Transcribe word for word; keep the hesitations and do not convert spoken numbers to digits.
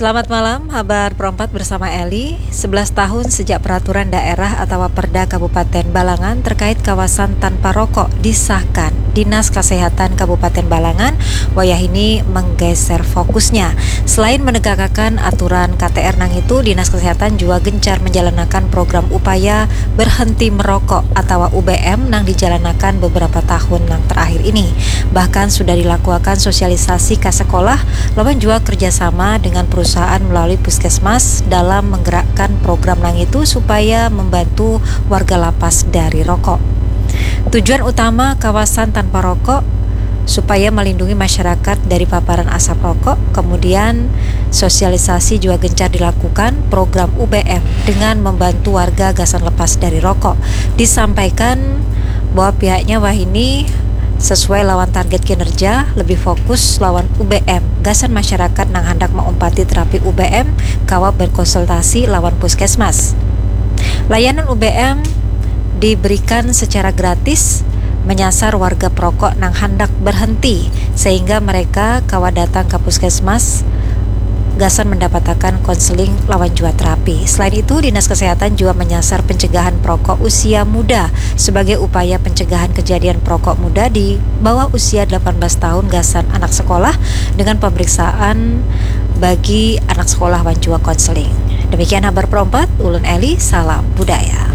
Selamat malam, habar perempat bersama Eli. Sebelas tahun sejak peraturan daerah atau Perda Kabupaten Balangan terkait kawasan tanpa rokok disahkan, Dinas Kesehatan Kabupaten Balangan wayah ini menggeser fokusnya. Selain menegakakan aturan K T R nang itu, Dinas Kesehatan juga gencar menjalankan program upaya berhenti merokok atau U B M nang dijalankan beberapa tahun nang terakhir ini. Bahkan sudah dilakukan sosialisasi ke sekolah lawan juga kerjasama dengan perusahaan melalui puskesmas dalam menggerakkan program nang itu supaya membantu warga lapas dari rokok. Tujuan utama kawasan tanpa rokok supaya melindungi masyarakat dari paparan asap rokok, kemudian sosialisasi juga gencar dilakukan program U B M dengan membantu warga gasan lepas dari rokok. Disampaikan bahwa pihaknya wahini sesuai lawan target kinerja, lebih fokus lawan U B M gasan masyarakat nang handak maumpati terapi U B M kawa berkonsultasi lawan puskesmas. Layanan U B M diberikan secara gratis menyasar warga perokok nang handak berhenti, sehingga mereka kawa datang ke puskesmas gasan mendapatakan konseling lawan jua terapi. Selain itu, Dinas Kesehatan juga menyasar pencegahan perokok usia muda sebagai upaya pencegahan kejadian perokok muda di bawah usia delapan belas tahun gasan anak sekolah dengan pemeriksaan bagi anak sekolah wan jua konseling. Demikian habar perompat, ulun Eli, salam budaya.